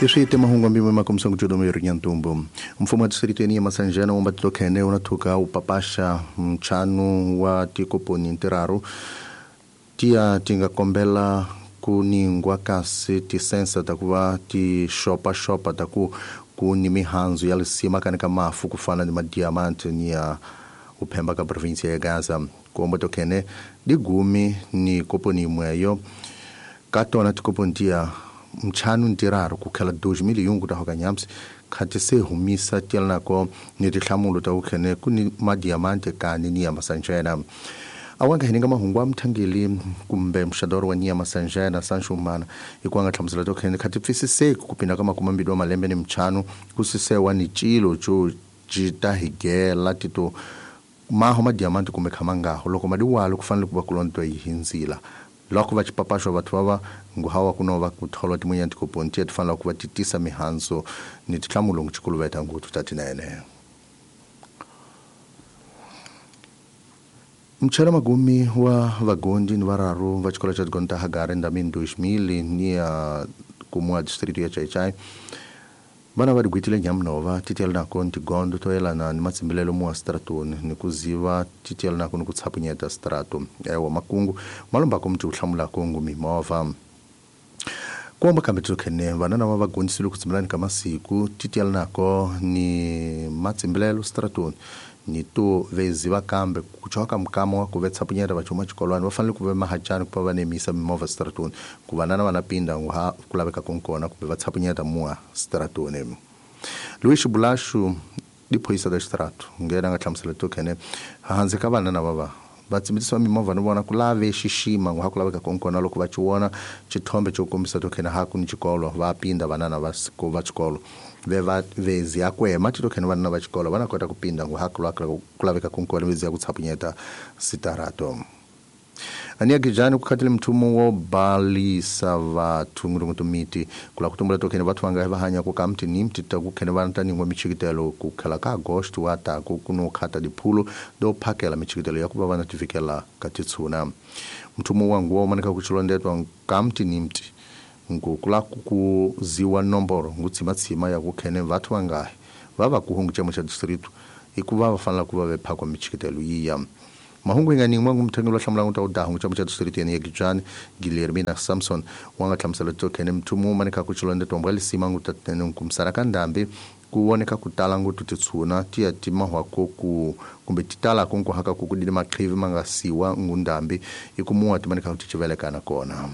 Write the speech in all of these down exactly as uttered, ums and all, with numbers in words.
Iswi mahungu mbimwe makomisa kujodo mero nyantumbo. Mfumo wa distrito ya Masanjana wa mbatilo unathuka upapasha mchanu wa tikoponi ntiraru tia tinga kombela kuningwa kasi tisensa takuva tishopa shopa taku kuni mihanzu ya lisima kanika mafu kufana ni madiamante ni ya uphemba ka provinsia ya Gaza. Kuomba tokene digumi ni koponi imweyo katona tikoponi tia mchanu ntiraru kukhela dois mil e um kutahoka nyamsi khati se humisa tielnako ni tihlamulo ta ukhene kuni madiamante kani ni ya Masanjana. Awanga hininga mahungu amthangeli kumbe mshadoro wa nyama Sanjana Sanshumana ikwanga hlamusela to khene khati pfisiseki kupinda ka makumambili wa malembe ni mchanu kusisewa ni chilo cho jitahigela tito maho madiamante kumbe khamangaho loko madiwalo kufanele kuba kulonto yihinzila loko va chipapasho vathu vava nguhawa kunova kutholwa timunya tikoponti tifanele kuva titisa mihanzo ni tihlamulo ngichikuluveta nguthu tatinene. Mchana magumi wa vagondi ni vararu va xikolo xa tigonda Hagare ndamini dois mil ni ya kumwa distrito ya Chaichai vana va digwitile nyamunova titiyela nako ni tigondo to yelana ni matsimbilelo muwa stratoni ni kuziva titiyela nako ni ku tshapunyeta strato ewa makungu malombako mti uhlamulako ngu mimovha kuomba kambe tsokhene vana lava va gondisile ku tsimbilani ka masiku titiyela nako ni matsimbilelo stratoni ni to veziva kambe kuchoka mkamo wa kuvetsa punyera vachuma chikolwani va fanele ku ve mahachani ku va nemisa mimovha stratoni ku vanana vana pinda nguha kulaveka konkona kumbe va tshapunyeta muwa stratoni. Luis Bulashu diphoyisa da strato ngena nga hlamusela to khene hanze ka vanana va va va tsimbisa mimovha ni vona ku lave xixima nguha ku laveka konkona loko va chiwona chithombe xo kombisa to khene ha ku ni xikolo va pinda vanana va va xikolo ve va vezi ya kwema tito khene vanana va xikolo vana kota ku pinda nguha ku laveka konkona vezi ya ku tshapunyeta sitarato. Ania kijani kukhatile mthumo wo balisa vathu ngurungutu miti kula kutumbula tokhene vathu vanga va hanya ku ka mti ni mti ta ku khene vana ta ningwa michikitelo ku khala ka agosto wa ta ku kuno khata diphulo do phakela michikitelo ya ku va vana tifikela ka titshuna. Mthumo wa nguwa manika ku chilondetwa ka mti ni mti ngu kula ku ziwa nomboro ngutsimatsima ya ku khene vathu vanga va va ku hungu chemo cha distrito ikuva va fanela ku va ve phakwa michikitelo yiya. Mahungu inga ni mwangu mtengelo hlamula nguta udahu chama cha distrito ya Gijani Guilhermina Samson wanga hlamusela to khene mthumo manika kuchilonde tombwa lisima nguta tene kumsara ka ndambi kuoneka kutala ngutu titsuna tiya timahwa ku kumbe titala kunku haka kukudile maqhivi mangasiwa ngundambi ikumuwa timanika kuti chivelekana kona.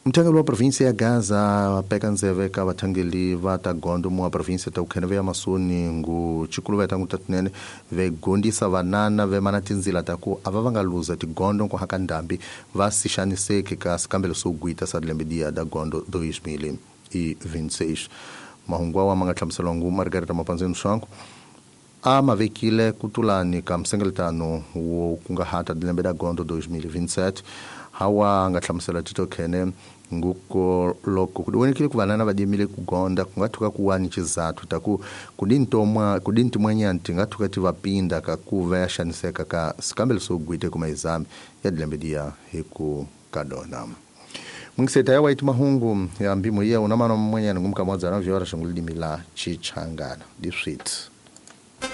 Mthangeli wa provinsia ya Gaza peka nzeve ka vathangeli va ta gondo muwa provinsia ta ukhene ve ya masoni ngu chikuluveta ngu tatinene ve gondisa vanana ve mana tinzila ta ku ava va nga luza tigondo nku haka ndambi va sixaniseki ka sikambelo swo gwita sa lembe dia da gondo dois mil e vinte e seis. Mahungu awa ma nga hlamuseliwa ngu Margareta Mapanzeni Swanku a ma vekile kutulani ka msengeletano wo kungahata lembe da gondo dois mil e vinte e sete hawa nga hlamusela tito khene nguko loko kudiwonekile ku vanana va dimile ku gonda kungathuka kuwani chizathu taku kudintomwa kudintimwanyanti ngathuka ti vapinda ka kuva ya xaniseka ka sikambelo swo gwite kuma exame ya dilembe dia hi ku kadona. Mungiseta ya waiti mahungu ya mbimo iya unamano mmwenyana ngumkamwadzana vyora shangulidimi la chichangana diswit.